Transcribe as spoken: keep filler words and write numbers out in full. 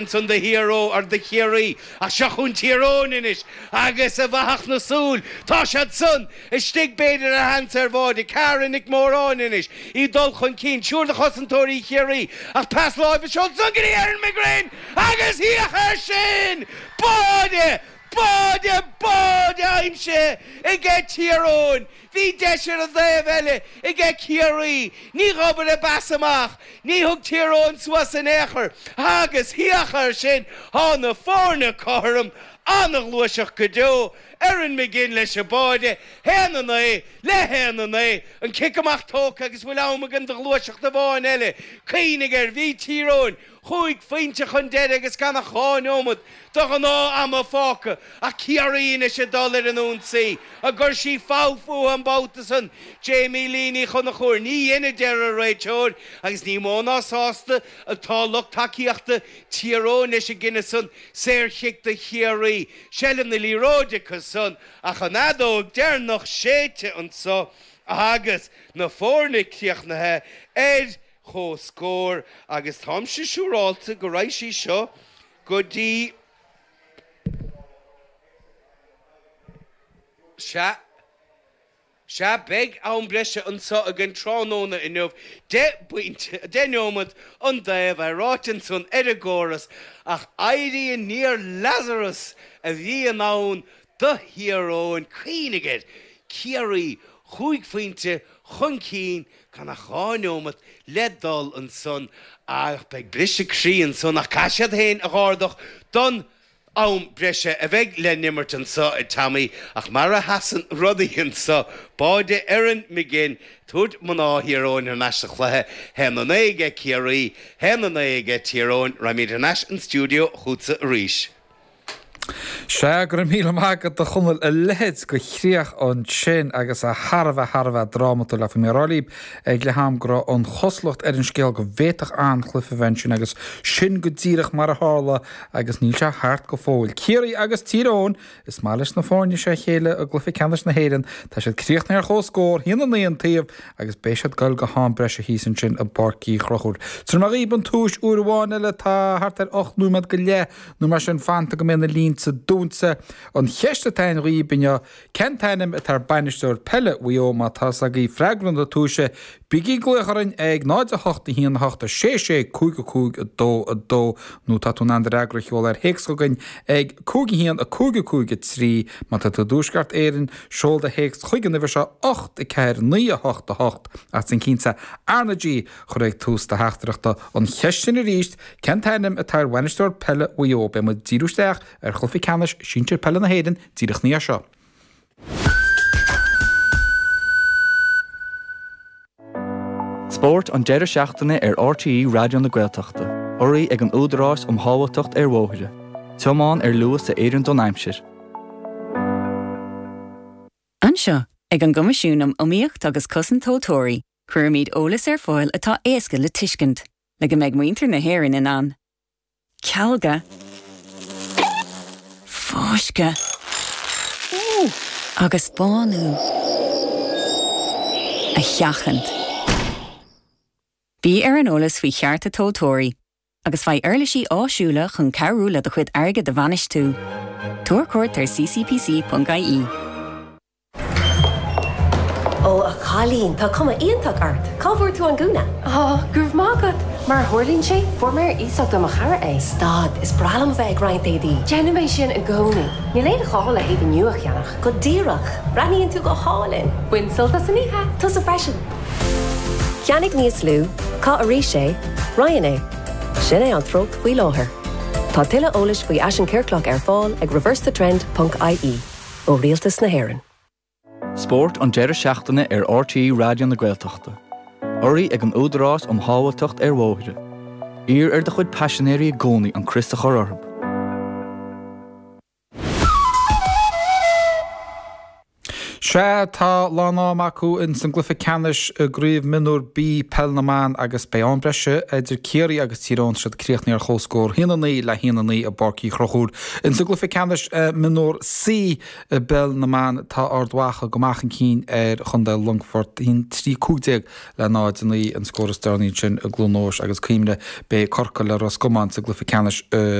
Ansan do Thír Eoghain, or do Chiarraí, ach seo chugainn Tír Eoghain anois agus i bhfathach na súl tá siad san istigh b'fhéidir ar sheans ar bháide. Cara Nic Móráin anois í dul chun cinn, triúr de chosantóirí Chiarraí ach pas láimhe seolta ansan go dtí Erin McGrane agus féach air sin! Báide! Báide! Báide aimsithe aige Tír Eoghain! Bhí deis ar an dtaobh eile aige Ciarraí. Ní dh'obair a bpas amach. Ní thug Tír Eoghain suas in aon chor. Agus féach air sin, tá na foirne cothrom, an-ghluaiseacht go deo. Erin McGinn leis an báide, haon a naoi le haon a naoi. An cic amach tógtha agus bhfuil am againn do ghluaiseacht amháin eile. Cuimhnigh air, bhí Tír Eoghain chúig phointe chun deiridh agus gan ach dhá neomat de ghnáth-ama fágtha ach Ciarraí anois ag dul ar an ionsaí. An gcuirfidh sí fogha fúthu an babhta san? Jamie Lee Ní Chonchúir, Ní dhein, a deir an réiteoir, agus ní mó ná sásta atá lucht tacaíochta Thír Eoghain leis an gcinneadh san. Saorchic do Chiarraí. Seilbh na liathróide acu san ach an fheadóg deireanach séidte anso agus na foirne críochnaithe ar chomhscór agus táimse siúrálta go raghaidh sí seo go dtí, sea, sea, beidh am breise anseo againn tráthnóna inniu, deich bpointe, deich neomat an dtaobh, é ráite ansan ar an gcóras, ach éirí aniar Lazarus a bhí in ann do Thír Eoghain, cuimhnigh air, Ciarraí chúig phointe chun cinn Gan ach dhá neomat le dul ansan ach beidh briseadh croí ansan ach caithfidh siad féin a dh'ardach don am breise a bheidh le n-imirt anso a Tommy ach mar a sheasann rudaí anso, báide Erin McGinn tabhairt mná Thír Eoghain thar n-ais sa chluiche, haon a naoi aige Ciarraí, haon a naoi aige Tír Eoghain, raghaimid thar n-ais an stiúideo chughatsa arís. Sea, go raibh míle maith agat a Chonaill, a leithéid de chríoch ansin agus é thar a bheith, thar a bheith drámatúil. Ach bhí mé ag rá libh ag leath am go raibh an chosúlacht ar an scéal go bhféadfadh an-chluiche a bheith ansin agus sin go díreach mar a tharla agus níl sé thart go fóill. Ciarraí agus Tír Eoghain, is maith leis na foirne seo a chéile i gcluiche ceannais na hÉireann. Tá siad críochnaithe ar chomhscór, a haon a naoi an taobh agus beidh siad ag goil go ham breise thíos ansin i bPáirc Uí Chonchúir. Tabharfaidh mé dhaoib an tomhas uair amháin eile, tá thart ar ocht nóiméad go leith nó mar sin fanta go mbeidh na línte dúnta. An cheist atá againn dhaoib inniu, cén t-ainm atá ar bainisteoir peile Mhaigh Eo? Má tá fhios agaibh freagra na tomhaise, bígí ag glaoch orainn ag náid a hocht a haon a hocht a sé sé cúig a cúig a dó a dó nó tá tú in ann do fhreagra a sheoladh ar théacs chugainn ag cúig a haon a cúig a cúig a trí. Má tá tú i dTuaisceart Éireann, seol do théacs chuig an uimhir seo ocht a ceathair naoi a hocht a hocht ach déan cinnte RnaG a chur ag tús do theachtaireachta. An cheist sin arís, cén t-ainm atá ar bhainisteoir peile Mhaigh Eo? Beidh muid ag díriú isteach ar chluiche ceannais sinsir peile na hÉireann díreach ina dhiaidh seo. Spórt an deireadh seachtaine ar RTÉ Raidió na Gaeltachta, urraithe ag an Údarás um Shábháilteacht ar Bhóithre. Tiomáin ar luas a oireann don aimsir. Anseo, ag an gCoimisiún um Iomaíocht agus Cosaint Tomhaltóirí, cuirimid eolas ar fáil atá éasca le tuiscint, le go mbeidh muintir na hÉireann in ann cealga, fáisceadh agus bánú a sheachaint. Bí ar an eolas faoi chearta tomhaltóirí agus faigh uirlisí áisiúla chun cabhrú le do chuid airgid a bhainistiú. Tabhair cuairt ar ccpc.ie. Ó, a chailín, tá cuma iontach ort! Cá bhfuair tú an gúna? Á, go raibh maith agat! Mar a tharlaíonn sé, fuair mé ar iasacht ó mo chara é. Stad, is breá liom a bheith ag roinnt éadaí. Déanaim é sin i gcónaí. Níl aon ghá le héadaí nua a cheannach. Go díreach! Breathnaíonn tú go hálainn! Bain sult as an oíche! Tusa freisin! Ceannaigh níos lú, caith arís é, roinn é. Sin é an treocht faoi láthair. Tá tuilleadh eolais faoi fhaisean ciorclach ar fáil ag reversethetrend ponc ie ó Rialtas na hÉireann. Spórt an deireadh seachtaine ar RTÉ Raidió na Gaeltachta. Urraithe ag an Údarás um Shábháilteacht ar Bhóithre. Iarr ar do chuid paisinéirí i gcónaí an crios a chur orthu. Sea tá lán-am acu in san gcluiche ceannais i gcraobh mionúr B Peil na mBan agus beidh am breise idir Ciarraí agus Tír Eoghain siad críochnaithe ar chomhscór haon a naoi le haon a naoi i bPáirc Uí Chonchúir. In san gcluiche ceannais mionúr C i bPeil na mBan tá Ard Mhacha go maith chun cinn ar Chontae Longfort haon trí cúig déag le náid a naoi an scór is deireanaí sin i gCluain Eois agus cuimhnigh beidh Corcaigh le Ros Comáin sa gcluiche ceannais